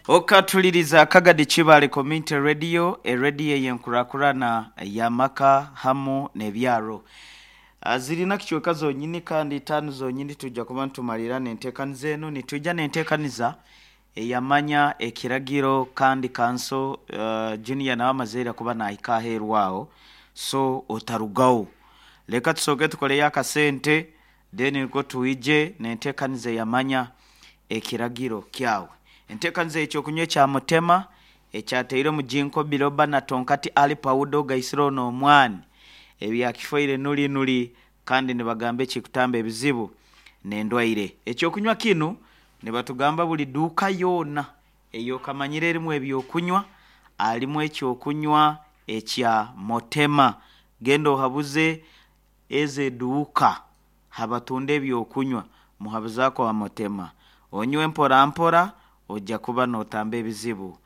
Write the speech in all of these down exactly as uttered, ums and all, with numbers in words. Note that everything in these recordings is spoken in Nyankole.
Okatuliriza Kagadi Kibale Community Radio, erediyo eyenkurakurana y'amaka hamu n'ebyaro. Ah, zirina kicweka zonyini kandi itaano zonyini tujja kuba nitumalira n'enteekaniza eno. Nitujja n'enteekaniza eyamanya ekiragiro kandi kanso uh, junior nawe amazeire kuba nahika aheeru aho, so otarugaho. Leka tusooke tukoleyo akasente, then niko twije n'enteekaniza eyamanya ekiragiro kyawe. Enteekaniza ekyokunywa ekya mutema ekyateire mu ginkgo biloba na tonkati ali pawuda ogaisire ono omwani ebyakifoire nuli nuli, kandi nibagamba ekikutamba ebizibu n'endwaire. Ekyokunywa kinu nibatugamba buli duuka yoona eyokamanyire erimu ebyokunywa alimu ekyokunywa ekya motema. Genda ohabuze ezo eduuka habatunda ebyokunywa, muhabuzaako wa motema, onywe mpora mpora, ojja kuba n'otamba ebizibu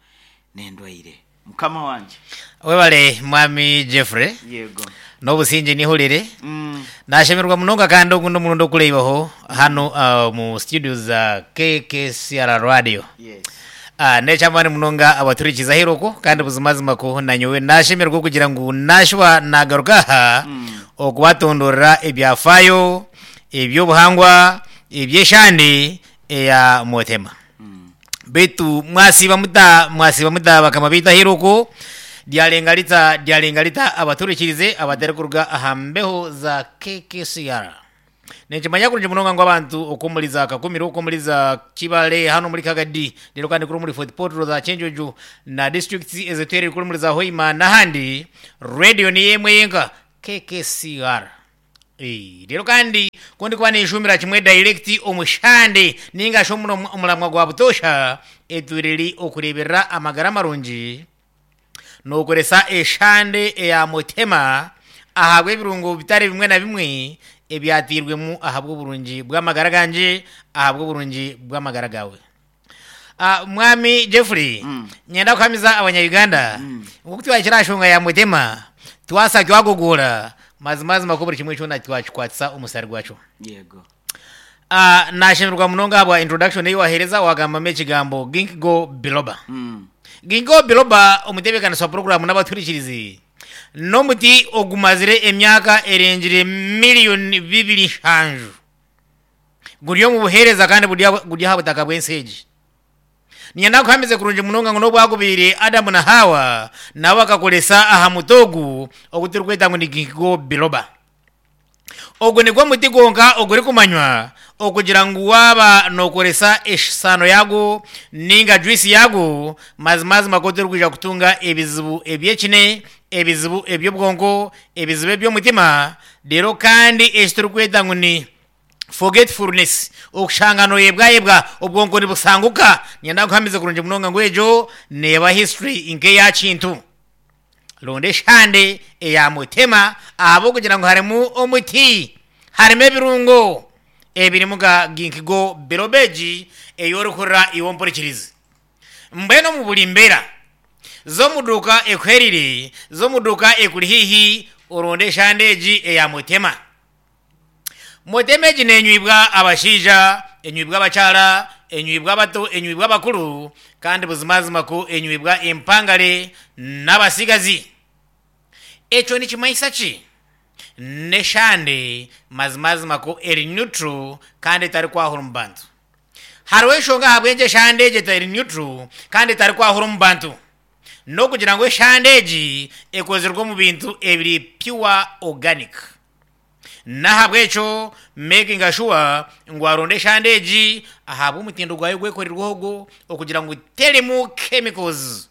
n'endwaire. Mukama wanje. Webale mwami Jeffrey. Yego. N'obusinge nihurire. mm. Nashemerwa munonga kandi ogu n'omurundi okureibaho hano uh, mu studio za K K C R Radio. Yes uh, nekyamaani munonga abaturikiza aheeru kandi buzimazima ko nanyowe nashemerwa okugira ngu nashuba nagaruka aha mm. okubatondorera ebyafayo ebyobuhangwa ebyeshande eya motema. Mm. Betu mwasiba muta, mwasiba muta bakama biita aheeru ryarenga rita, ryarenga rita abaturikirize abatari kuruga aha mbeho za K K C R. Ninkimanya kurungi munonga ngu abantu okwomuri za Kakumiro, okwomuri za Kibale, hano muri Kagadi, rero kandi kuri muri Fort Portal, za Kyenjojo na districts ezitwerire kuri muri za Hoima n'ahandi, radio ni emwe yenka, K K C R. Eh, rero kandi kundi kuba ninshumira kimwe direct omushande ninga shi omuno- omuramwa gwa butosha etwiriri okureberera amagara marungi nokoresa eshande eya mutema ahabwa ebirungo bitari bimwe na bimwe ebyatirwemu ahabw'oburungi bw'amagara ganje, ahabw'oburungi bw'amagara gawe. Ah, mwami Jeffrey, Mm. nyenda kuhamiza abanya-Uganda Mm. nkoku twakira shonga ya mutema twasa twagogora mazimazima ko buri kimwe kyona twakikwatisa omusari gwakyo. Yego. Ah, nashemerwa munonga ahabwa introduction eyi wahereza, wagambamu ekigambo ginkgo biloba. mm. Ginkgo biloba, omutebeekanisa wa poroguramu n'abaturikirizi, n'omuti ogumazire emyaka erengire miliyoni bibiri nshanju guri omu buheereza kandi guri aha- guri aha butaka bw'ensi egi. Ninyenda kuhamize kurungi munonga ngu n'obwagubiire Adamu na Hawa nabo bakakoresa aha muti ogu ogu turikweta ngu ni ginkgo biloba. Ogu nigwo muti gwonka ogurikumanywa okugira ngu waaba nokoresa eshaano yagwo ninga juice yagwo, mazimazima ko torikwija kutunga ebizibu ebyekine, ebizibu eby'obwonko, ebizibu eby'omutima, rero kandi eki turikweta ngu ni forgetfulness, okushanga noyebwayebwa, obwonko nibusanguka. Ninyenda kuhamiza kurungi munonga ngu egyo neeba history nk'eya kintu. Ronda eshande eya mutema ahabw'okugira ngu harimu omuti, harimu ebirungo ebirimu nka ginkgo biloba egi ei orikurira iwe ompurikirizi. Mbwenu omu buri mbeera z'omuduuka ekuherire, z'omuduuka ekuri haihi, oronde eshande egi eya mutema. Mutema egi nenywibwa abashaija, enywibwa abakyara, enywibwa abato, enywibwa abakuru, kandi buzimazima ko enywibwa empangare n'abasigazi. Ekyo nikimanyisa ki? N'eshande mazimazima ko eri neutral kandi etarikwahura omu bantu. Hariho enshonga ahabw'enki eshande egi etari neutral kandi etarikwahura omu bantu, n'okugira ngu eshande egi ekozirwe omu bintu ebiri pure organic. N'ahabw'ekyo making sure ngu waronda eshande egi ahabw'omutindo gwayo gwekorerweho ogwo okugira ngu terimu chemicals,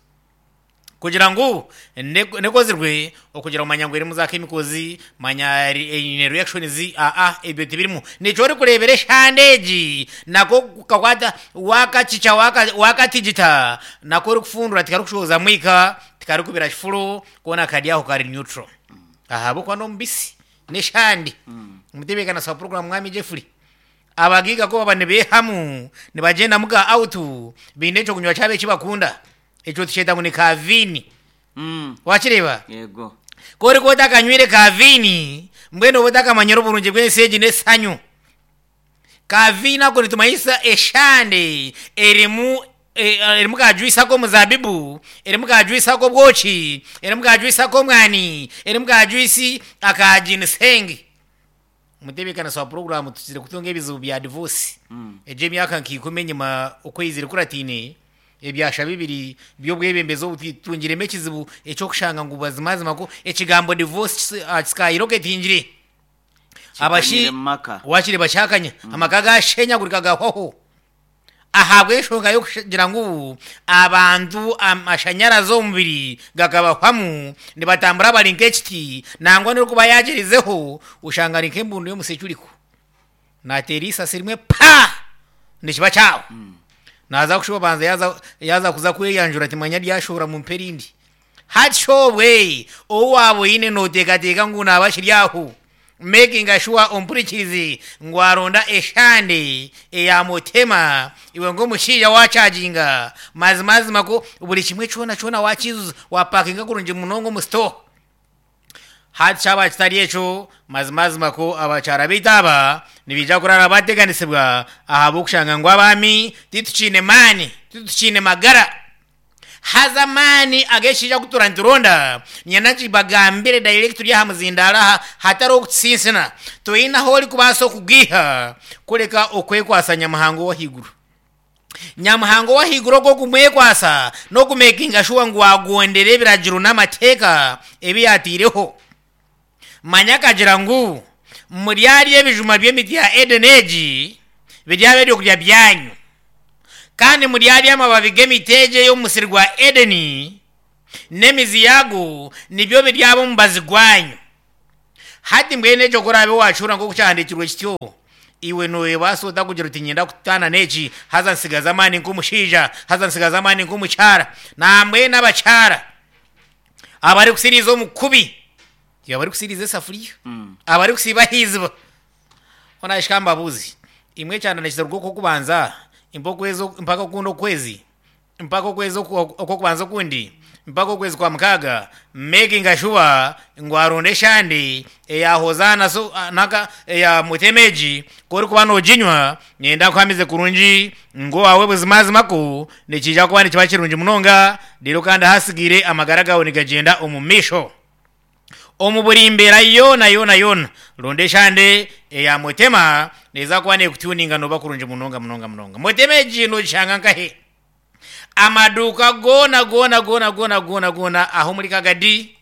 kugira ngu ne- nekozirwe okugira ngu manya ngu erimu za chemicals, manya eri- eine reactions. Aa, ebyo tibirimu. Nikyo orikureebera eshande egi nako kakwata wakakica waka- wakatigita nako orikufundura tikarikushooza mwika, tikarikubira kifuro, koona kari aho kari neutral ahabw'okuba n'omubisi n'eshande. Omutebeekanisa wa program mwami Jeffrey, abagiga ko baba nibeehamu nibagyenda muka out biine ekyokunywa kyabo eki bakunda, ekyo tukyeta ngu ni kavini. Mm. Wakireeba? Yego. Ko orikuba otakanywire kavini, mbwenu oba otakamanyire oburungi bw'ensi egi n'essanyu. Kavini ako nitumanyisa eshande erimu erimu ka juice ak'omuzabibu, erimu ka juice ak'obwoki, erimu ka juice ak'omwani, erimu ka juice aka ginseng. Omutebeekanisa wa puroguraamu tukizire kutunga ebizibu bya divorce. Egyo emyaka nka ikumi enyima okwezi kuratiine ebyasha bibiri by'obwebembezi obu tutungiremu ekizibu eky'okushanga ngu bazimazima ko ekigambo divorce kikayiroketingire. Abashi Kikanyire mu maka. wakiri bakyakanya amaka gashenyagurika gahwaho ahabw'enshonga y'okugira ngu abantu amashanyarazi omubiri gakabahwamu nibatambura bari nk'ekiti nangwa n'orikuba yagirizeho oshanga ari nk'embundu y'omusekyuriko nateera eisasi rimwe pa nikiba kyawe naza kushuba banza yaza yaza kuza kweyanjura timanya ryashohora mumpe erindi hati shobwe ou waaba oine nooteekateeka ngu naaba kiri aho making sure ompurikirize ngu aronda eshande eya mutema iwe ng'omushaija wachaginga mazimazima ko buri kimwe kyona kyona wakizuza wapakinga kurungi munonga omu store. Hati kyaba kitari ekyo mazimazima ko abakyara baitu aba nibaija kurara bateganisibwa ahabw'okushanga ngu abaami titukiine maani, titukiine magara. Haza amaani ag'ekishaija kutura nituronda nyenda nkibagambire direct turi aha muzindaaro aha hatariho okutusinsina toine ahu orikubaasa okugiiha kureka okwekwasa Nyamuhanga ow'ahaiguru. Nyamuhanga ow'ahaiguru ogwo okumwekwasa n'okumekinga sure ngu wagondera ebiragiro n'amateeka ebi yaataireho. Manya akagira ngu muryarya ebijuma by'emiti ya Eden egi biryaba ebyokurya byanyu, kandi muryarya amababi g'emiti egi ey'omu musiri gwa Edeni n'emizi yago nibyo biryaba omubazi gwanyu. Hati mbwenu ekyo ku oraabe waakihurira nk'oku kyahandiikirwe kityo, iwe nooyebaasa ota kugira oti niinyenda kutaana n'eki haza nsigaze amaani nk'omushaija, haza nsigaze amaani nk'omukyara. Nambwenu abakyara abarikusiriiza omu kubi, abarikusiiriza esafuriya, abarikusiiba aha iziba. Hoona mbabuuze, imwe ekyanda nikiruga okw'okubanza mpaka okwezi mpaka okundi okwezi mpaka okwezi okw'okubanza okundi mpaka okwezi kwa mukaaga making sure ngu aronda eshande eya hozaana so naka eya mutema egi ku orikuba nooginywa niinyenda nkuhamize kurungi ngu owaawe buzimazima ko nikiija kuba nikiba kirungi munonga reero kandi ahasigaire amagara gaawe nigagyenda omu maisho. Omu buri mbeera yoona yoona yoona ronda eshande eya mutema neeza kuba neekutuninga nooba kurungi munonga munonga munonga. Mutema egi noogishanga nkahe? Amaduuka goona goona goona goona goona goona aho omuri Kagadi,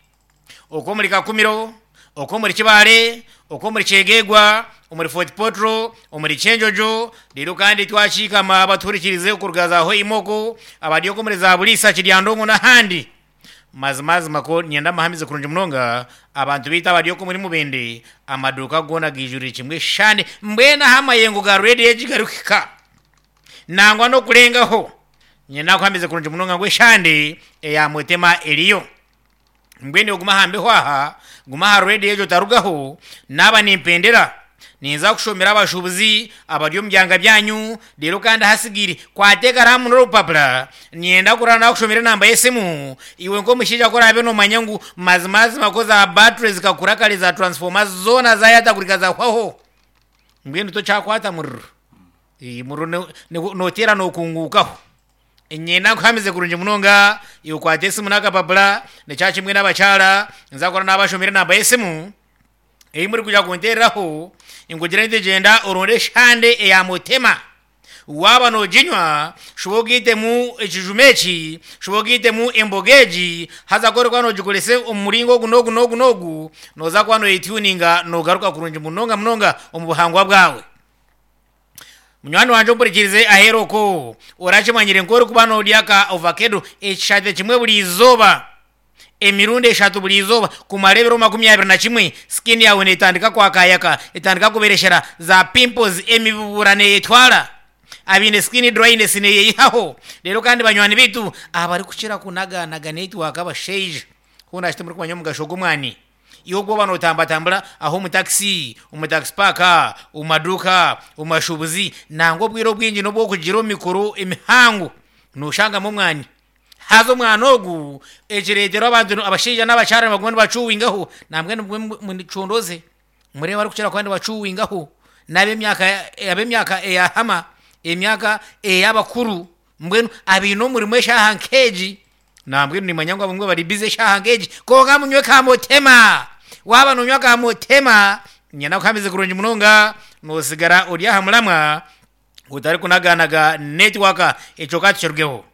okwo omuri Kakumiro, okwo omuri Kibaale, okwo omuri Kyegegwa, omuri Fort Portal, omuri Kyenjojo, reero kandi twakiikama abatuhurikirize okuruga za Hoima okwo, abari okwo omuri za Buliisa, Kiryandongo n'ahandi. Mazimazima ko niinyenda mbahamize kurungi munonga abantu baitu abari okwo omuri Mubende amaduuka goona gaijurire kimwe eshande mbwenu ahu amayengo ga reediyo egi garikuhika nangwa n'okurengaho niinyenda nkuhamize kurungi munonga ngu eshande eya mutema eriyo. Mbwenu iwe guma aha mbeho aha, guma aha reediyo egyo otarugaho, naaba nimpendera ninza kushomera abashuubuzi abari omu byanga byanyu reero kandi ahasigaire kwata ekaraamu n'orupapura niinyenda kurara nakushomera enamba y'esimu iwe nk'omushaija ku oraabe noomanya ngu mazimazima ko za battery zikakura kare za transformer zoona zayatagurika zahwaho mbwenu tokyakwata muriro, muriro nooteera nookunguukaho. Niinyenda nkuhamize kurungi munonga iwe kwata esimu n'akapapura nikyo kimwe n'abakyara nza kurara nabashomera enamba y'esimu ei murikwija kunteereraho nkugire nti gyenda oronde eshande eya mutema. Waaba nooginywa shuba ogaitemu ekijuma eki, shuba ogaitemu emboga egi, haza ku orikuba noogikoresa omu muringo ogu n'ogu n'ogu n'ogu, nooza kuba nooyetuninga noogaruka kurungi munonga munonga omu buhangwa bwawe. Munywani wangye ompurikirize aheeru okwo, orakimanyire nk'orikuba noorya ka ovakedo ekishate kimwe buri izooba, emirundi eshatu buri izooba kumara ebiro makumi abiri na kimwe, skin yaawe neetandika kwakayaka, etandika kubereshera, za pimples emibubura neeyetwara, abaine skin dryness neeyeyihaho. Reero kandi banywani baitu abarikukira kunaganaga netiwaaka abashaija, hoona shi timurikumanya omugasho gw'omwani? Iwe ogu waaba nootambatambura aho omu takisi, omu takisi paaka, omu maduuka, omu mashuubuzi, nangwa obwire obwingi n'obw'okugira omu mikoro emihango nooshangamu omwani. Haza omwani ogu ekireetera abantu abashaija n'abakyara nibaguma nibacuwingaho nambwenu mucondooze mureebe abarikukira kuba nibacuwingaho n'ab'emyaka ab'emyaka eyahama, emyaka ey'abakuru. Mbwenu abaine omurimo eshaaha nk'egi, nambwenu nimanya ngu abamwe bari bize eshaaha nk'egi, konka munywe kamutema. Waaba nonywa kamutema, nyenda kuhamize kurungi munonga, noosigara ori aha muramwa otarikunaganaga network, ekyo ka tukirugeho.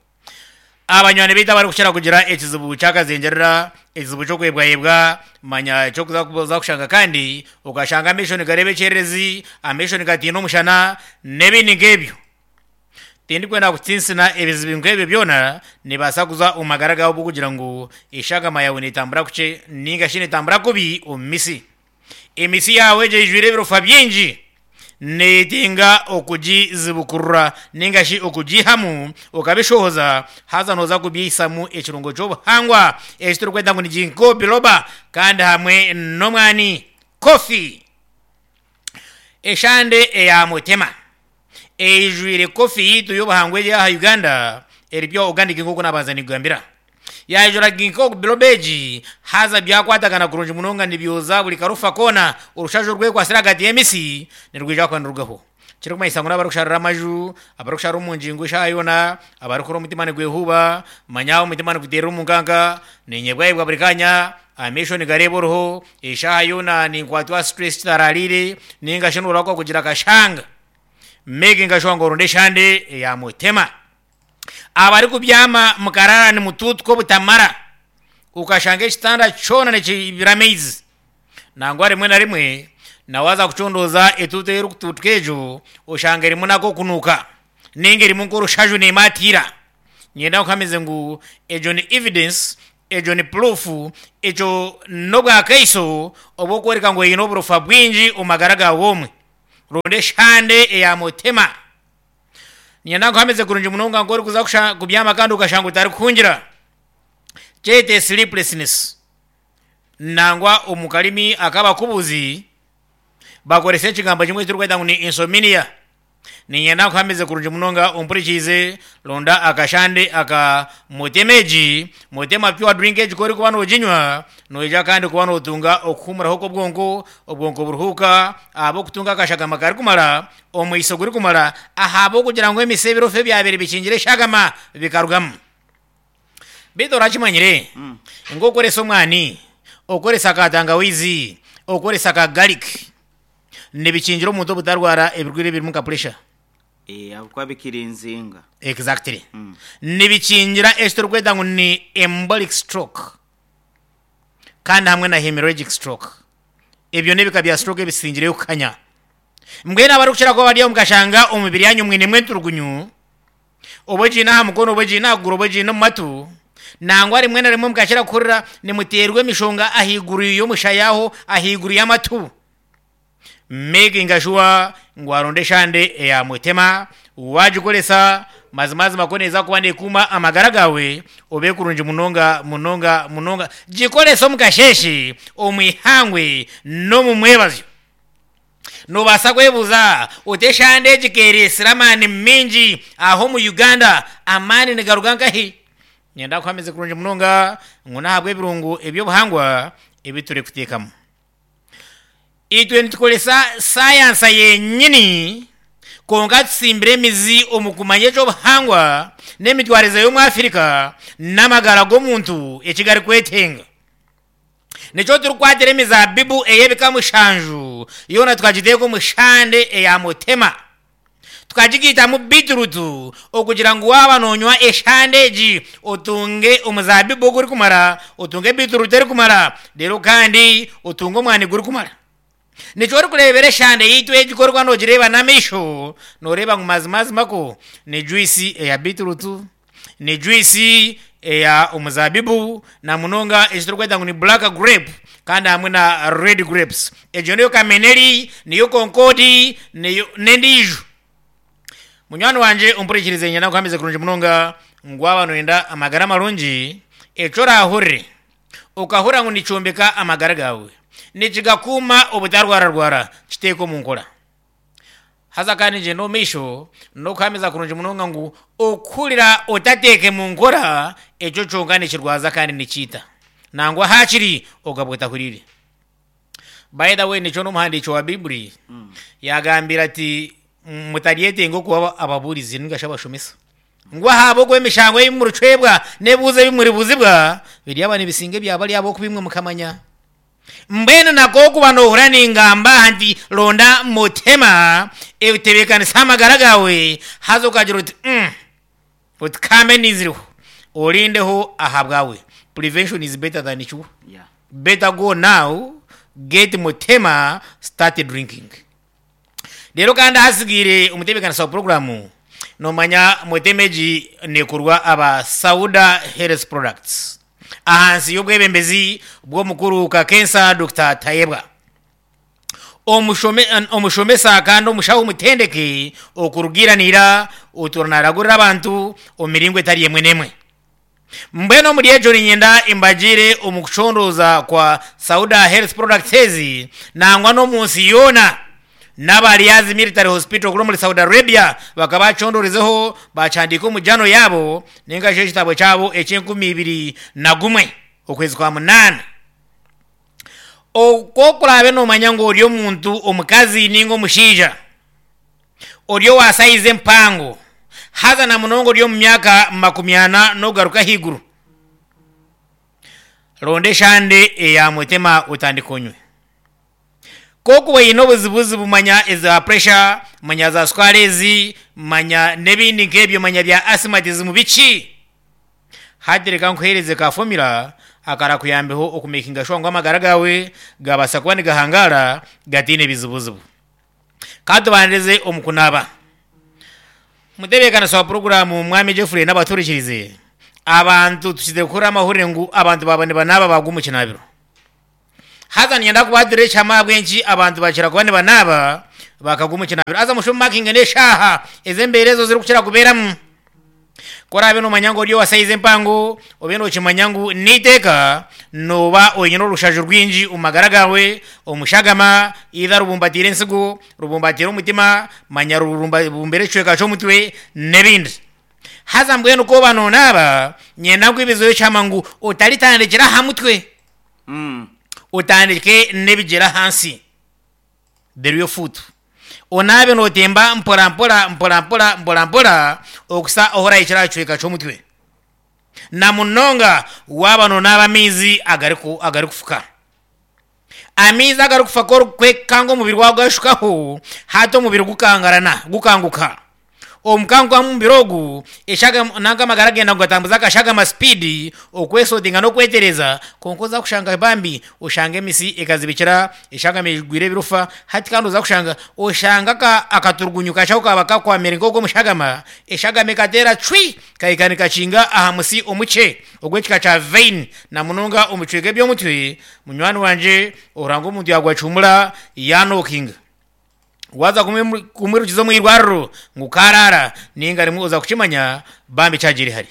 Abanywani baitu abarikukira kugira ekizibu kyakazengyerera, ekizibu ky'okwebwayebwa, manya ekyokuza kuza kushanga kandi okashanga amaisho nigareeba ekyererezi, amaisho nigatiina omushana n'ebindi nk'ebyo. Tindikwenda kutinsina ebizibu nk'ebyo byona nibaasa kuza omu magara gawe kugira ngu eshagama yawe netambura kukye ninga shi netambura kubi omu misi. Emisi yawe egyo eijwire ebirofa bingi neetenga okugizibukurura ninga shi okugiihamu okabishohoza, haza nooza kubyihisamu ekirungo ky'obuhangwa eki turikweta ngu ni ginkgo biloba kandi hamwe n'omwani kofi. Eshande eya mutema eijwire kofi yiitu y'obuhangwa eri aha Uganda eri pure organic nk'oku nabanza nikugambira. Yaijura ginkgo biloba egi haza byakwatagana kurungi munonga nibyoza buri karofa koona, orushaju orwekwasire ahagati y'emisi nirwija kuba nirurugaho. Kirikumanyisa ngu n'abarikusharira amaju, abarikushara omu ngingo eshaaha yoona, abarikukora omutima nigwehuuba, manya omutima niguteerera omu nkanka, ninyebwayebwa buri kanya, amaisho nigareeba oruho, eshaaha yoona ninkwatwa stress kitaraariire, ninga shi noorahuka kugira akashanga. Making sure ngu oronda eshande eya mutema. Abarikubyama mukarara nimutuutuka obutamara, okashanga ekitanda kyona nikibira amaizi. Nangwa rimwe na rimwe nawaza kucondooza etuutu ei erikutuutuka egyo, oshanga erimu n'ak'okunuuka ninga erimu nk'orushaju neemaatiira. Niinyenda nkuhamize ngu egyo ni evidence, egyo ni proof, ekyo n'obwakaiso obw'okworeka ngu oine oburofa bwingi omu magara gaawe omwe. Ronda eshande eya mutema. Niinyenda nkuhamize kurungi munonga nk'orikuza kusha kubyama kandi okashanga otarikuhungira. Kyete sleeplessness. Nangwa omu karimi ak'abakubuzi bakoresa ekigambo kimwe ekiturikweta ngu ni insomnia. Niinyenda nkuhamize kurungi munonga ompurikiize, ronda akashande aka mutema egi, mutema pure drink egi ku orikuba nooginywa, noija kandi kuba nootunga okuhuumuraho kw'obwonko, obwonko buruhuuka ahabw'okutunga akashagama karikumara, omwiso gurikumara, ahabw'okugira ngu emisi ebirofa ebyabaire bikingire eshagama bikarugamu. Beitu orakimanyire ngu okoresa omwani, okoresa ka tangawizi, okoresa ka garlic, nibikingira omuntu obutarwara ebirwaire ebirimu nka pressure. Eh, ahabw'okuba bikirinzinga. Exactly. Nibikingira eki turikweta ngu ni embolic stroke kandi hamwe na hemorrhagic stroke. Ebyo n'ebika bya stroke ebisingireyo kukanya. Mbwenu abarikukira kuba bari aho mukashanga omu mibiri yanyu mwinemu enturugunyu, oba ogiine aha mukono, oba ogiine aha kuguru, oba ogiine omu matu, nangwa rimwe na rimwe mukakira kuhurira nimuteerwa emishonga ahaiguru y'omushaya aho, ahaiguru y'amatu. Making sure ngu waronda eshande eya mutema, wagikoresa, mazimazima ku neeza kuba neekuuma amagara gaawe, obe kurungi munonga munonga munonga. Gikorese omu kasheeshe, omu ihangwe n'omu mwebazyo. Noobaasa kwebuuza oti eshande egi keereetsire amaani maingi aha omu Uganda, amaani nigaruga nkahi? Niinyenda kuhamize kurungi munonga ngu n'ahabw'ebirungo eby'obuhangwa ebi turikuteekamu. Itwe nitukoresa sayansa yenyini, konka tusimbire emizi omu kumanya eky'obuhangwa n'emitwarize y'omu Africa n'amagara g'omuntu eki garikwetenga. Nikyo turikukwatira emizaabibu ey'ebika mushanju yoona tukagiteeka omu shande eya mutema. Tukagigaitamu beetroot okugira ngu waaba noonywa eshande egi otunge omuzaabibu ogurikumara, otunge beetroot erikumara, reero kandi otunge omwani gurikumara. Nikyo orikureebera eshande yaitu egi ku orikuba noogireeba n'amaisho, nooreeba ngu mazimazima ko ni juice eya beetroot, ni juice eya omuzaabibu na munonga eki turikweta ngu ni black grape kandi hamwe na red grapes. Egyo niyo kameneri, niyo concord, niyo n'endiijo. Munywani wangye ompurikirize niinyenda nkuhamize kurungi munonga ngu waaba nooyenda amagara marungi, eki oraahurire okahurira ngu nikyombeka amagara gaawe, nikigakuuma obutarwararwara, kiteeke omu nkora. Haza kandi ngyenda omu maisho n'okuhamiza kurungi munonga ngu okuhurira otateeke mu nkora, ekyo kyonka nikirwaza kandi nikiita. Nangwa haakiri okabwa otahuriire. By the way nikyo n'omuhandiiki wa Baiburi yaagambire ati mutaryetenga okuba ababuurizi ninga shi abashomesa. Ngu ahabo gw'emishango ebimurucwebwa n'ebibuuzo ebimuribuzibwa biri aba nibisinga ebyaba ryabo okubimwe mukamanya. Mbwenu nako okuba nohura ningamba nti ronda mutema ebitebeekanisa amagara gawe, haza okagira oti mm, oti kambe niziriho orindeho aha bwawe. Prevention is better than cure. Yeah. Better go now, get mutema, start drinking. Rero kandi ahasigaire omutebeekanisa wa programu, nomanya mutema egi nekorwa aba Sauda Health Products ahansi y'obwebembezi bw'omukuru Kakensa Doctor Tayebwa, Omushome- omushomesa kandi omushaho omutendeke okurugiranira oturanaragurira abantu omu miringo etari emwe n'emwe. Mbwenu omuri egyo ninyenda embagire omu kucondooza kwa Sauda Health Products ezi, nangwa n'omu nsi yoona n'abariyazi Military Hospital kuri omuri Saudi Arabia bakaba bacondoorezeho, bakyandika omu jano yaabo ninga shi ekitabo kyabo eky'enkumi ibiri na gumwe okwezi kwa munaana. Okwo kurabe nomanya ngu ori omuntu omukazi ninga omushaija ori owa size empango, haza na munonga ori omu myaka makumi ana n'okugaruka ahaiguru, ronda eshande eya mutema otandika onywe. Kokuba oyine obuzibuzibu, manya eza pressure, manya za sukari ezi, manya n'ebindi nk'ebyo, manya bya asthmatism biki, hati reka nkuhereze ka formula akarakuyambeho okumakinga sure ngu amagara gawe gabasa kuba nigahangara gatiine bizibuzibu. Katubanirize omu kunaaba. Mutebeekanisa wa puroguramu mwami Jeffrey n'abaturikirize, abantu tukize kukora amahurire ngu abantu baba nibanaaba bagwa omu kinabiro. Haza ninyenda kubahatira ekihama ahabw'enki abantu bakira kuba nibanaaba bakagwa omu kinabiro. Haza mushume makinga n'eshaaha ez'embeera ezo zirikukira kubeeramu. Korabe nomanya ngu ori owa size empango, obe nokimanya ngu n'eiteeka noba oine orushaju rwingi omu magara gawe, omushagama either rubumbatiire ensigo, rubumbatiire omutima, manya rubumbire ekicweka ky'omutwe n'ebindi. Haza mbwenu koba nonaaba, nyenda nkwibizeho ekihama ngu otaritandikira aha mutwe, Mm. otandike n'ebigyere ahansi, the real foot. Onaabe notemba mpora mpora mpora mpora mpora mpora okusa ohorahikira aha kicweka ky'omutwe, na munonga waaba nonaaba amaizi agariku agarikufuka. Amaizi agarikufa korikwekanga omubiri gwawe gashukaho, hati omubiri gukangarana, gukanguka. Omukanguka mumubiri ogu eshaga nanka amagara genda kugatambuza akashagama speed okwesotinga n'okwetereza. Konka oza kushanga bambi oshanga emisi ekazibikira, eshagama egwire ebirufa. Hati kandi oza kushanga oshanga aka- akaturugunyu kashaho kaba kakwamire nk'ogw'omushagama, eshagama ekateera cwi kahika nikakinga aha musi omukye ogw'ekika kya vein, na munonga omu bicweka eby'omutwe. Munywani wangye, oranga omuntu yagwacumura yanokinga, waza kumwimu- kumwirukiza omu irwariro ngu karara ninga rimwe oza kukimanya bambi kyagiri hari.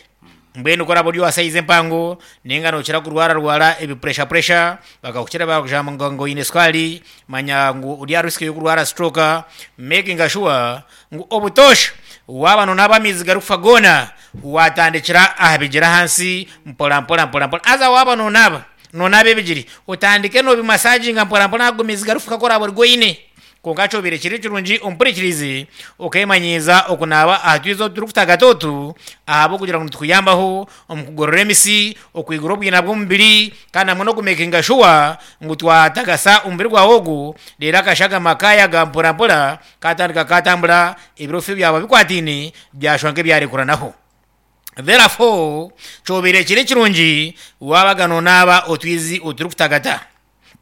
Mbwenu koraba ori owa size empango ninga nokira kurwara rwara ebi pressure pressure, bakakukira bakujamba ngo ngo oyine sukari, manya ngu ori aha risk y'okurwara stroke, making sure ngu obutosha waaba nonaaba amaizi garikufa goona watandikira aha bigyere ahansi mpora mpora mpora mpora. Haza waaba nonaaba nonaaba ebigiri, otandike nobimasaginga mpora mpora ago maizi garikufuka koraba ori goine. Konka kyobire kiri kirungi ompurikirize okemanyiiza okunaaba aha twizi otu turikutagata otu ahabw'okugira ngu nitukuyambaho omu kugorora emisi, okwigura obwina bw'omubiri, kandi hamwe n'okumakinga sure ngu twatagasa omubiri gwawe ogu, reero akashagama kayaga mpora mpora katandika katambura, ebirofu byaba bikwatiine byashwa nk'ebyarekuranaho. Therefore kyobire kiri kirungi wabaga nonaaba otwizi oturikutagata,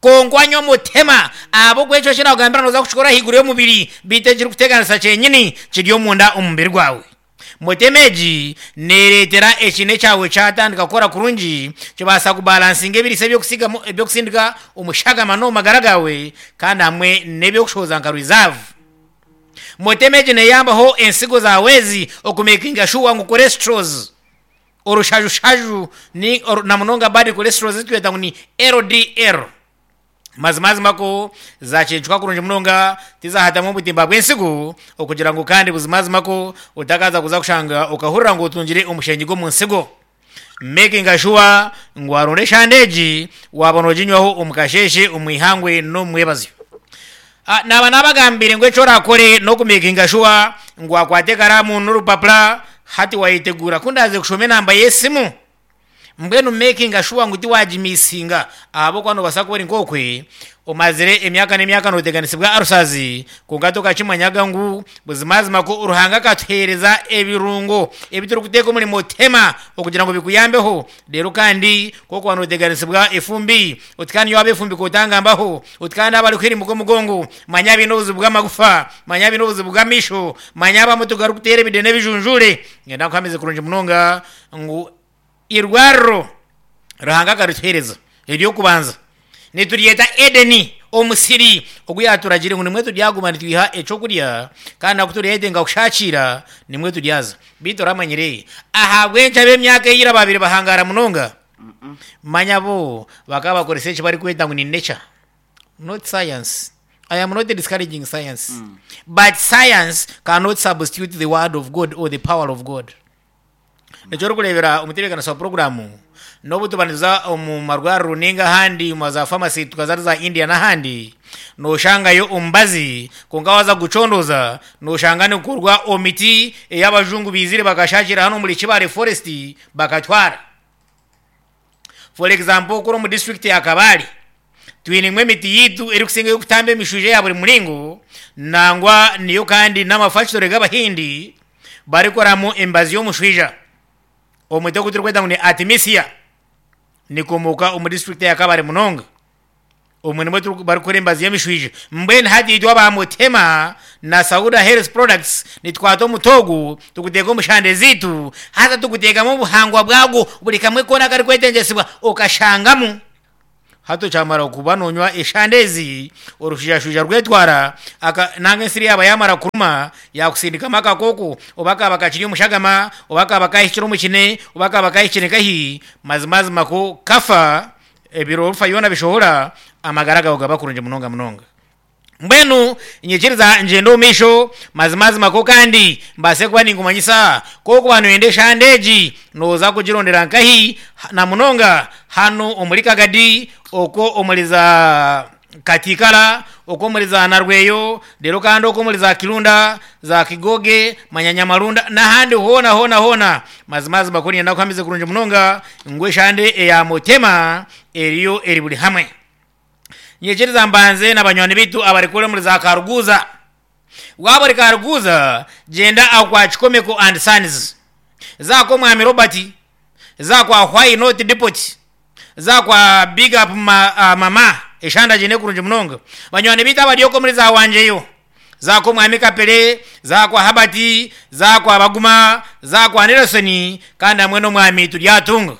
konka anywa omutema ahabw'okuba ekyo kinakugambira noza kukikora ahaiguru y'omubiri, beitu ekirikuteganisa kyenyini kiri omunda omu mubiri gwawe. Mutema egi nereetera ekine kyawe kyatandika kukora kurungi, kibaasa kubalansinga ebiriisa ebyokusigamu ebyokusindika omushagama n'omu magara gawe, kandi hamwe n'ebyokushohoza nka reserve. Mutema egi neyambaho ensigo zawe ezi okumakinga sure ngu cholesterols, orushajushaaju ni oru, na munonga bad cholesterol ezitweta ngu ni L D L, mazimazima ko zacencuka kurungi munonga, tizahatamu obutimba bw'ensigo okugira ngu kandi buzimazima ko otakaza kuza kushanga okahurira ngu otungire omushengi gw'omu nsigo. Making sure ngu waronda eshande egi waba noginywaho omu kasheshe, omu ihangwe n'omu mwebazyo. Ah, naba nabagambire ngu ekyo orakore n'okumakinga sure ngu wakwata ekaramu n'orupapura. Hati wayetegura kundaze kushoma enamba y'esimu, mbwenu making sure ngu tiwagimisinga ahabw'okuba nobaasa kuba ori nk'okwe omazire emyaka n'emyaka noteganisibwa arusazi, konka tokakimanyaga ngu buzimazima ko Ruhanga akatuheereza ebirungo ebi turikuteeka omuri mutema okugira ngu bikuyambeho. Reero kandi kokuba noteganisibwa efumbi, oti kandi waaba efumbi kotangambaho, oti kandi abarikuhirimuka omugongo, manya biine obuzibu bw'amagufa, manya biine obuzibu bw'amaisho, manya abamwe tugarikuteera ebide n'ebijunjure. Ngenda nkuhamize kurungi munonga ngu irwariro Ruhanga akarituheereza ery'okubanza nituryeta Edeni, omusiri ogu yaturagire ngu nimwe turyaguma nitwiha ekyokurya, kandi naku turyetenga kushakira nimwe turyaza. Beitu oramanyire ahabw'enki ab'emyaka eyira babire bahangara munonga? Manya bo bakaba bakoresa eki barikweta ngu ni nature, not science. I am not discouraging science, but science cannot substitute the word of God or the power of God. Ekyo orikureebera omutebeekanisa wa puroguraamu, n'obu tuba nituza omu marwariro ninga ahandi omu za famasi tukaza za India n'ahandi, nooshangayo omubazi, konka waaza kugucondooza nooshanga nigukorwa omu miti ei abajungu baizire bakashakira hanu omuri Kibale Forest bakatwara. For example, kuri omu district ya Kabale twinemu emiti yaitu erikusinga ey'okutamba emishwija eya buri muringo, nangwa niyo kandi n'amafactory g'abahindi barikoramu emibazi y'omushwija. Omuti ogu turikweta ngu ni Artemisia nikomoka omu district ya Kabale munonga. Omwe nimwo turi- barikukora emibazi y'emishwija. Mbwenu hati itwe aba Mutema na Sauda Health Products nitukwata omuti ogu tuguteeka omu shande ziitu, haza tuguteekamu obuhangwa bwagwo buri kamwe koona akarikwetengyesibwa okashangamu. Hati okyamara kuba nonywa eshande ezi, orushwijashwija rwetwara aka nanga ensiri yaaba yamara kuruma yakusindikamu akakooko, oba kaba kakiri omushagama, oba kaba kahikire omu kine, oba kaba kahikire nkahi, mazimazima ko kafa ebiro orufa yoona bishohora, amagara gawe gaba kurungi munonga munonga. Mbwenu nyikiriza ngyende omu maisho mazimazima ko kandi mbaase kuba ninkumanyisa kokuba noyenda eshande egi nooza kugirondera nkahi, na munonga hanu omuri Kagadi, okwo omuri za Katikara, okwo omuri za Narweyo, reero kandi okwo omuri za Kirunda, za Kigoge, manya Nyamarunda n'ahandi hoona hoona hoona. Mazimazima ko niinyenda kuhamize kurungi munonga ngu eshande eya Mutema eriyo eri buri hamwe. Nyikiriza mbanze na banywani baitu abarikukora omuri za Karuguza. Waaba ori Karuguza, gyenda aho kwa Kikomeko and Sons, za kw'omwami Robert, za kwa Why Not Depot, za kwa Big Up ma, uh, Mama, eshanda giine kurungi munonga. Banywani baitu abari okwo omuri za Wangyeyo, za kw'omwami Kapere, za kwa Habert, za kwa Baguma, za kwa Nelson, kandi hamwe n'omwami Turyatunga.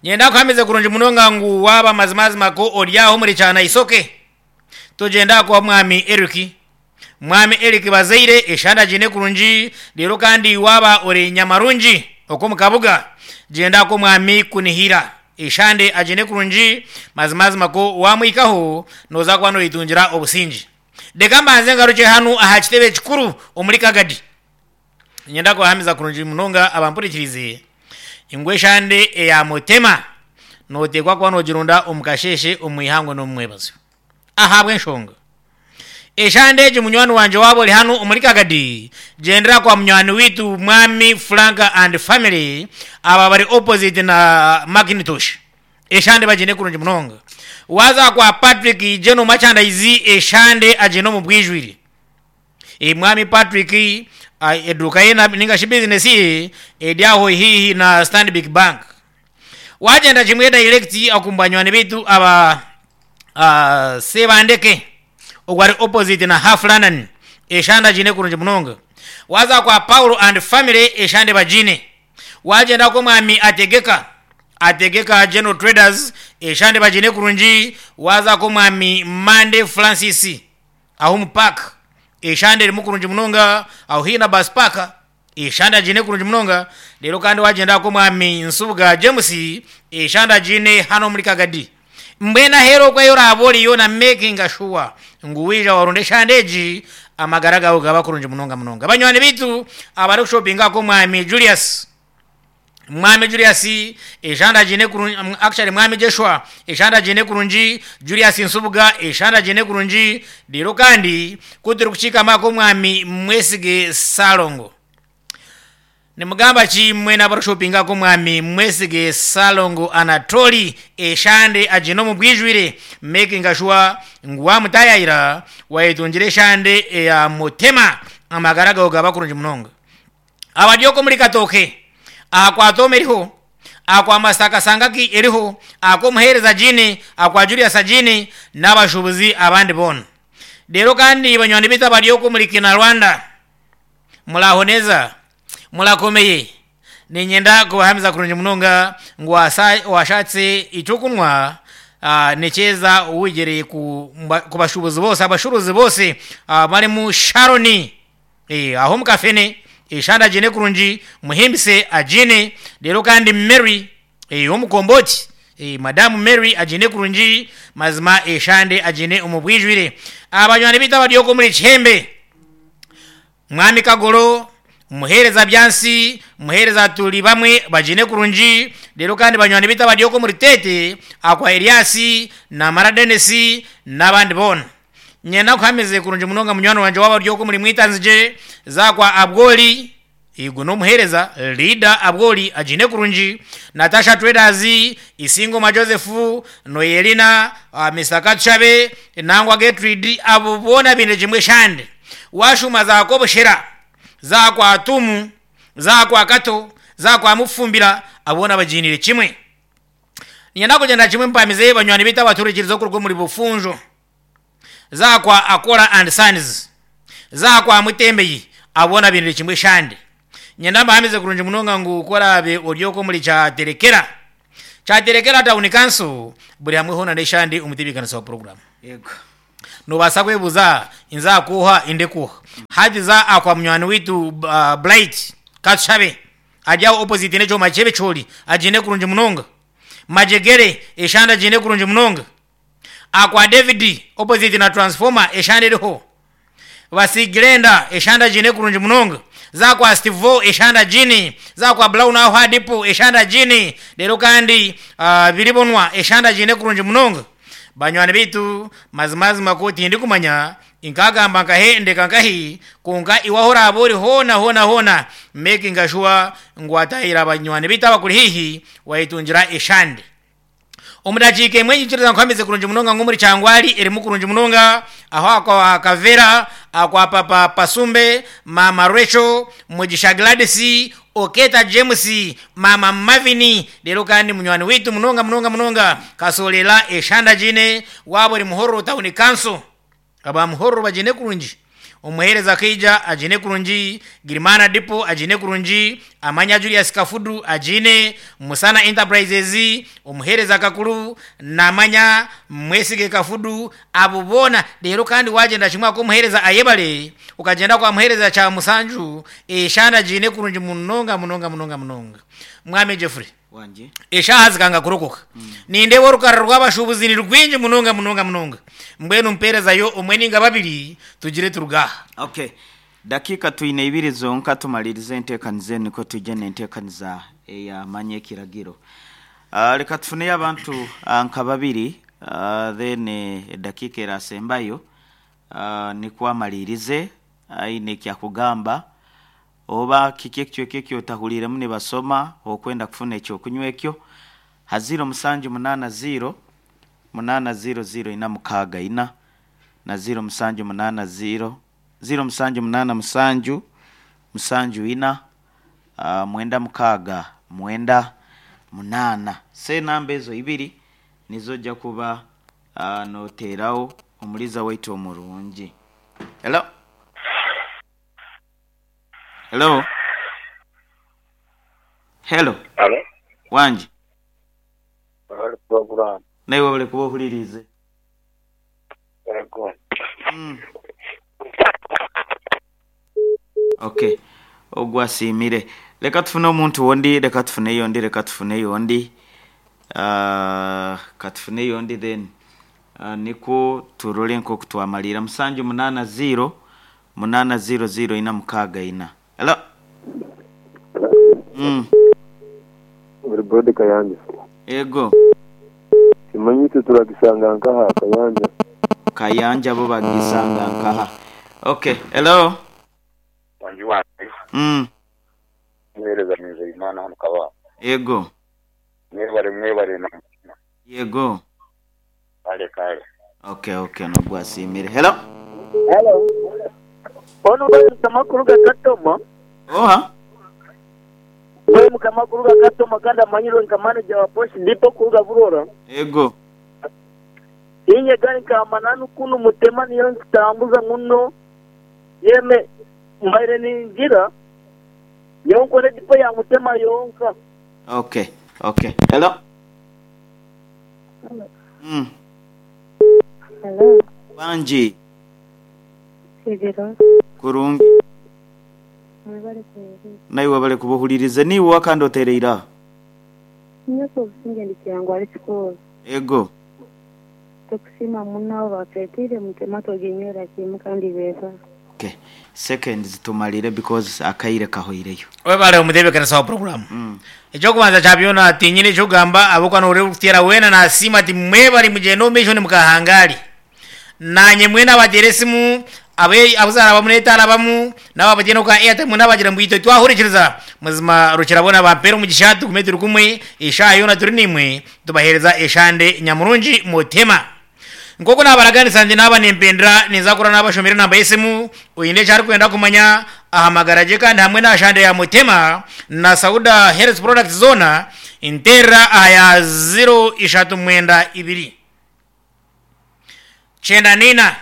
Nyenda kuhamize kurungi munonga ngu waaba mazimazima ko ori aho omuri Kyana-Isoke, togyenda kwa mwami Eric. Mwami Eric Bazaire eshanda giine kurungi, reero kandi waaba ori Nyamarungi okwo omu Kabuga, gyenda kw'omwami Kunihira eshande agiine kurungi, mazimazima ko wamwikaho nooza kuba noyetungira obusinge. Reka mbanze ngarukye hanu aha kitebe kikuru omuri Kagadi. Niinyenda kubahamiza kurungi munonga abampurikirize ngu eshande eya Mutema nooteekwa kuba noogirunda omu kasheeshe, omu ihangwe n'omu mwebazo. Ahabw'enshonga eshande egi munywani wangye waaba ori hanu omuri Kagadi, gyendera kwa munywani waitu mwami Frank and family, aba bari opposite na Macintosh. Eshande bagiine kurungi munonga. Waaza kwa Patrick General Merchandise, eshande agiine omu bwijwire. E, mwami Patrick ah, eduuka ye na- ninga shi business ye eri aho haihi na Stanbic Bank. Wagyenda kimwe direct oku banywani baitu aba uh, Sebandeke ogwo ari opposite na Half London, eshande agiine kurungi munonga. Waaza kwa Paulo and family, eshande bagiine. Wagyenda kw'omwami Ategeka, Ategeka General Traders, eshande bagiine kurungi. Waaza kw'omwami Mande Francis aho omu park, eshande erimu kurungi munonga, aho haihi na bus park, eshande agiine kurungi munonga. Reero kandi wagyenda kw'omwami Nsubuga James, eshande agiine hanu omuri Kagadi. Mbwenu aheeru okwo ahi oraaba oriyo na making sure ngu waija warunda eshande egi, amagara gawe gaba kurungi munonga munonga. Banywani baitu abarikushopinga kw'omwami Julius, mwami Julius eshande agiine kurungi, actually mwami Joshua eshande agiine kurungi, Julius Nsubuga eshande agiine kurungi. Reero kandi ku turikukiikama kw'omwami Mwesige Salongo. Nimugamba ki mwena abarikushopinga mwami mwesige Salongo Anatoli eshande agine omu bwijwire, making sure ngu wamutayayira wayetungire eshande eya mutema, amagara gawe gaba kurungi munonga. Abaryoko muri Katoke akwa Tome eriho, akwa Masaka Sangaki eriho, akwa Omuhereza Jini, akwa Julius Jini n'abashubuzi abandi bona. Rero kandi banywani bitu abaryoko muri Kina Rwanda, muraho neza, murakomeye. Ninyenda kubahamiza kurungi munonga ngu wasa- washatse icyo kunywa, ah, nekyeza wigereye ku mba- ku bashubuzi bose, abashuruzi bose, ah, barimu Sharoni, eh, aho mukafene eshanda agine kurungi, muhimbise agine. Rero kandi Mary, eh, omukomboti, eh, madamu Mary agine kurungi, mazima eshande agine omu bwijwire. Abanywani bitu abaryoko muri Kihembe, mwami Kagoro, muhereza byansi, muhereza tuli bamwe bagine kurungi. Rero kandi banywani bitu abaryoko muri Tete, akwa Eliasi na Mara Denisi n'abandi bona. Nyenda kuhameze kurungi munonga munywani wanje w'abaryoko muri Mwitanzije, zakwa Abgoli igo n'omuhereza Lida Abgoli agine kurungi, Natasha Traders, Isingoma Joseph, Noyelina, uh, Mister Katshabe, Nangwa Gertrude, abo bona bine kimwe shande. Washuma zakoboshera zakwa Tumu, zakwa Kato, zakwa Mufumbira, abona bajinire kimwe. Nyenda kugenda kimwe mpamize banywani bita abaturikiriza okuruga muri Bufunjo, zakwa Akora and Sons, zakwa Mutembeyi, abona binire kimwe shande. Nyenda mbahamize kurungi munonga ngu korabe oryoko muri Kyaterekera, Kyaterekera town council, buri hamwe hona neshande umutebekanisa wa program. Yego. Nobasa kwebuza inzakuha indekuha hadiza akwa munywani witu, uh, Blight Katshabe ajyaho opposite necho machebe choli agine kurungi munonga, Majegere eshanda agine kurungi munonga, akwa David opposite na transformer eshanda eriho, Basigirenda eshanda jine kurungi munonga, zakwa Stevo eshanda jini, zakwa Brown aho hadipo eshanda jini. Rero kandi uh, biribonwa eshanda jine kurungi munonga. Banywani bitu mazimazima ko tindi kumanya inkagamba nkahe ndeka nkahi konka iwahora abori hona hona hona, making sure ngu atahira abanywani bitu abakuri hihi wayitungira eshande. Omudakiika emwe nyikiriza nkuhamize kurungi munonga ngu muri Kyangwali erimu kurungi munonga, aho akwa Kavera, akwa Papa Pasumbe, Mama Rachel, Mugisha Gladys, Oketa James, Mama Mavini. Rero kandi munywani witu munonga munonga munonga kasolera eshanda jine wabo ri Muhorro town council, aba Muhorro bagine kurungi, omuhereza Kaija agine kurungi, Girimana Dipo agine kurungi, Amanya Julius Kafudu agine, Musana Enterprises omuhereza Kakuru namanya Mwesige Kafudu, abo bona. Rero kandi wagenda kimwe ko omuhereza ayebale ukagenda kwa muhereza kya Musanju eshanda jine kurungi munonga munonga munonga munonga. Mwami Jeffrey Wanje. eshaha zikanga kurokoka, nindeba orukarara rw'abashubuzi ni rwingi munonga munonga munonga, mbwenu mperezayo omwe ninga babiri tugire turugaha. Okay, dakika twine ibiri zonka tumalirize enteekaniza enu niko tujye n'enteekaniza eyamanya ekiragiro. Uh, reka tufuneyo abantu uh, nka babiri, uh, then edakiika erasembayo, uh, nikwo amalirize aine ekyakugamba oba kiki ekicweka ekyo otahuriiremu nibasoma okwenda kufuna ekyokunywa ekyo ha ziro musanju munaana ziro munaana ziro ziro ina mukaaga ina na ziro musanju munaana ziro ziro musanju munaana musanju musanju ina, uh, mwenda mukaaga mwenda munaana. Se namba ezo ibiri nizo ojja kuba, uh, noteerawo omuliza waitu omurungi. Hello, hello, hello. Alo, Wangi. bari program. Naiwe bali kuba ohuririze. Yego. Mm. Okay, ogwo asiimire. Leka tufune omuntu wondi, leka tufune yondi, leka tufune yondi, uh, katufune yondi then, uh, nikwo turole nk'oku twamalira. Musanju munaana ziro munaana ziro ziro ina mukaaga ina. Hello. Mm. Buri bodi Kayanja. Ego. Kimanyi turagisanga nkaha Kayanja. Kayanja bo bagisanga nkaha. Okay, hello. Wangi wange. Mm. Muhereza mwize Imana hano kaba. Yego. Mwebare mwebare na. Yego. Kale kale. Okay, okay, nogwasimire. Hello. Hello. Ono bali kamakuru gakatoma. Oha. Wewe mukamakuru gakatoma kandi amanyiro nka manager wa post ndipo kuruga burora. Yego. Inye gani kamananu kunu mutema niyo nkitambuza muno. Yeme mbaire ningira. Yonko ndipo ya mutema yonka. Okay, okay. Hello. Hello. Mm. Hello. Banji. Sigiro. Kurungi. Mwebale kuhuliriza. Naiwe bale kubuhuliriza niwe wakandi otereira. Nyoko obusinge ndikyangu ali kikolo. Ego. Tukusima muno batwetire mutema toginywera kimu kandi beza. Okay. Seconds tumalire because akaire kahoireyo. Webale omutebekanisa wa program. Mm. Ekyokubanza kyabyona tinyine ekyokugamba abokwana ori kutera wena nasiima ati mwebale mugende omumaisho nimukahangaari. Nanye mwena abateera esimu abe abuzaara bamu n'etaara bamu nabo abagyenda oka Airtel mwena abagira ngu itwe twahurikiriza muzima rukirabona bampeera omugisha tugume turi kumwe eshaaha yoona turi nimwe tubaheereza eshande nyamurungi mutema. Nk'oku naabaraganisa nti naaba nimpendera ninza kura naabashomera enamba y'esimu oine eki arikwenda kumanya ahamagara gye kandi hamwe na shande ya mutema na Sauda Health Products zoona nterera aha ya zero ishatu mwenda ibiri kyenda nina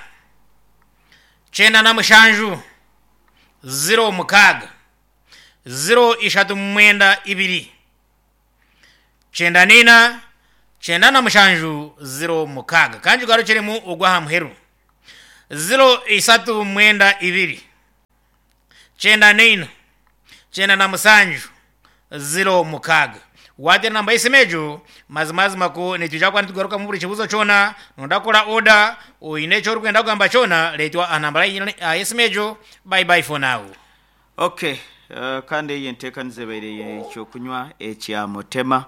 kyenda na mushanju zero mukaaga zero ishatu mwenda ibiri kyenda nina kyenda na mushanju zero mukaaga kandi ugarukiremu ogwa aha muheru zero isatu mwenda ibiri kyenda nina kyenda na musanju zero mukaaga watera namba y'esimu egyo mazimazima ko nitwija kuba nitugarukamu buri kibuzo kyona nondakora oda oine eki orikwenda kugamba kyona leetwa aha namba y'esimu egyo. Bye bye for now. Okay. Uh, kandi eyi enteekaniza ebaire ekyokunywa ekya mutema.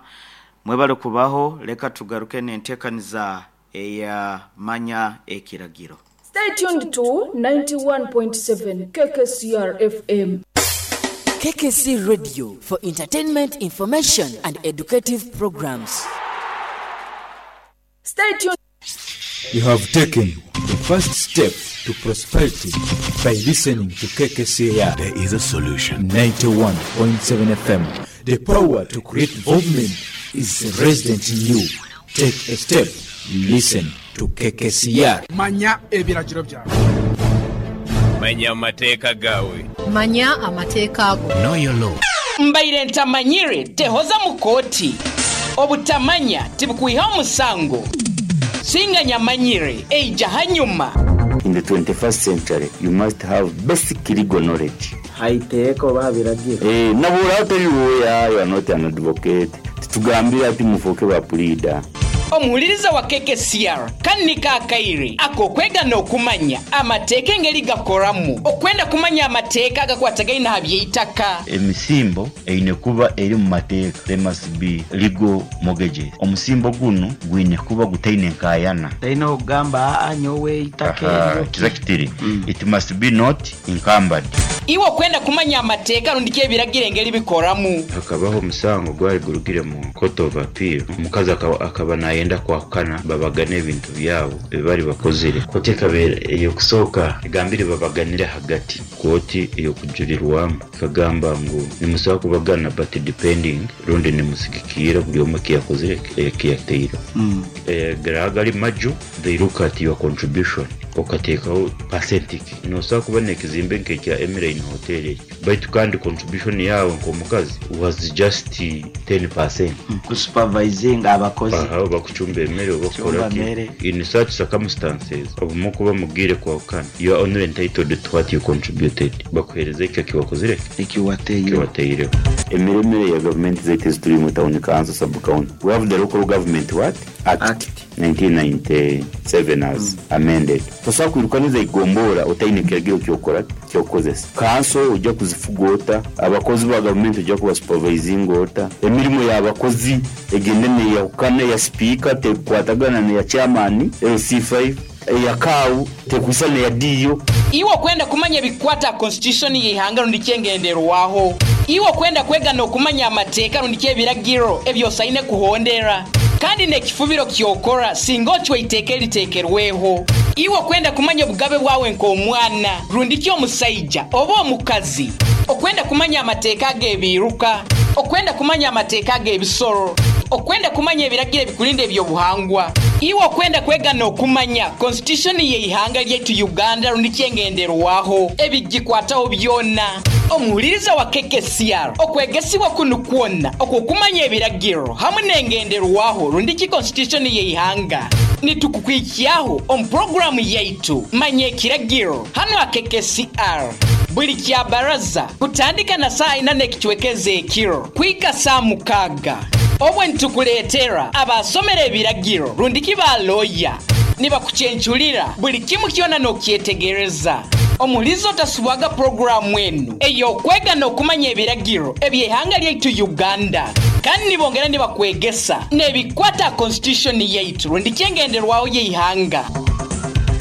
Mwebale kubaho leka tugaruke n'enteekaniza eya manya ekiragiro. Stay tuned to ninety-one point seven K K C R F M. K K C Radio for entertainment, information and educative programs. Stay tuned. You have taken the first step to prosperity by listening to K K C R. There is a solution. ninety-one point seven F M. The power to create movement is resident in you. Take a step. Listen to K K C R. Manya ebiragiro byawe. Manya amateeka gawe. Manya amateeka ago. Know your law. Mbaire ntamanyire tehoza mu kooti. Obutamanya tibukwiha omusango. Singa nyamanyire eija hanyuma. In the twenty-first century, you must have basic legal knowledge. Haiteeka oba biragiro. Eh, nabura atari lawyer, you are not an advocate. Tutugambira ati mufoke ba pleader. Omuhuliriza wa K K C R kanika akaire akokwega n'okumanya amateeka engeri gakoramu okwenda kumanya amateeka agakwatagaine aha by'eitaka. Emisimbo eine kuba eri mu mateeka. There must be legal mortgages. Omusimbo guno gwine kuba gutaine nkayana. Taine okugamba aa nyowe eitaka eryo. Exactly. It must be not encumbered. Iwe okwenda kumanya amateeka rundi ebiragiro engeri bikoramu. Hakabaho omusango gwari gurugire mu court of appeal. Omukazi akaba, akaba nayenda kwahukana babagane ebintu byabo ebibari bakozire. Kooti ekabeera ey'okusooka egambire babaganire hagati. Kooti ey'okujurirwamu ekagamba ngu nimusobola kubagana but depending rundi nimusigikiira buri omwe ekiyakozire ekiyateire. Mm. Eh, gari maju they look at your contribution okateekaho percentage. Nosobola kuba n'ekizimbe nk'ekya Emirine Hotel ekyo baitu kandi contribution yawe nk'omukazi was just ten percent. Mm. Kusupervising abakozi. Aha, bakucumba emmere oba Kucumba kukola ki. mmere. In such circumstances obumwe kuba mubwire kwahukana you are only entitled to what you contributed. Bakuhereza ekyo ekiwakozire ekiwateireho. Ekiwateireho. Emiremere ya government zaitu ezituri mu town council sub county. We have the local government what? Act, Act. nineteen ninety-seven as mm. amended. Tosobola kwirukaniza igombora otaine kiragiro kyokora kyokozesa. Council ojja kuzifuga ota, abakozi ba government ojja kuba supervising ota, emirimu y'abakozi egende neyahukana ya speaker tekwatagana neya chairman L C five eya kawu tekwisa neya D O. Iwe okwenda kumanya ebikwata constitution y'ihanga rundi kyengenderwaho. Iwe okwenda kwega n'okumanya amateeka rundi ky'ebiragiro ebyosaine kuhondera kandi n'ekifubiro kyokora singa ocwa iteeka eriteekerweho. Iwe okwenda kumanya obugabe bwawe nk'omwana rundi ki omusaija oba omukazi, okwenda kumanya amateeka ag'ebiiruka, okwenda kumanya amateeka ag'ebisoro, okwenda kumanya ebiragiro ebikulinda ebyobuhangwa. Iwe okwenda kwega n'okumanya constitution y'eihanga lyaitu Uganda rundi kyengenderwaho ebigikwataho byona. Omuhuliriza wa K K C R, okwegesibwa kunu kwona okwokumanya ebiragiro hamwe n'engenderwaho rundi ki constitution y'eihanga, nitukukwikyaho omu puroguramu yaitu Manya Ekiragiro hano aha K K C R buli kya baraza kutandika na saa ina n'ekicwekeza ekiro kwika saa mukaaga. Obwe nitukuleetera abasomera ebiragiro rundi ki baloya nibakuchenchulira buli kimu kyona n'okyetegereza. Omulizo otasubwaga puroguramu enu ey'okwega n'okumanya ebiragiro eby'eihanga lyaitu Uganda, kandi nibongera nibakwegesa n'ebikwata constitution yaitu rundi kyengenderwaho y'eihanga.